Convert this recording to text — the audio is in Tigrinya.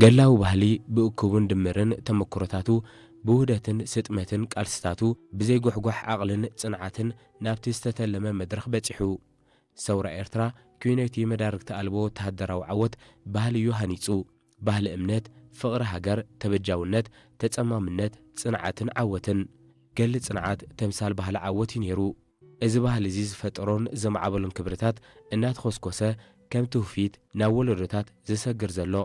ገላዊ ባህሊ ብእኩብን ድምርን ተመክሮታቱ፣ ብውህደትን ስጥመትን ቃልስታቱ፣ ብዘይጉሕጓሕ ዓቕልን ጽንዓትን ናብቲ ዝተተለመ መድረኽ በጺሑ። ሰውራ ኤርትራ፣ ኲነይቲ መዳርግቲ ኣልቦ ወተሃደራዊ ዓወት ባህሊ እዩ ሃኒጹ። ባህሊ እምነት፣ ፍቕሪ ሃገር፣ ተበጃውነት፣ ተጸማምነት፣ ጽንዓትን ዓወትን። ገድሊ ጽንዓት ተምሳል ባህሊ ዓወት እዩ ነይሩ። እዚ ባህሊ እዚ ዝፈጠሮን ዘማዕበሎን ክብርታት እናተኾስኮሰ፣ ከም ትውፊት ናብ ወለዶታት ዝሰግር ዘሎ።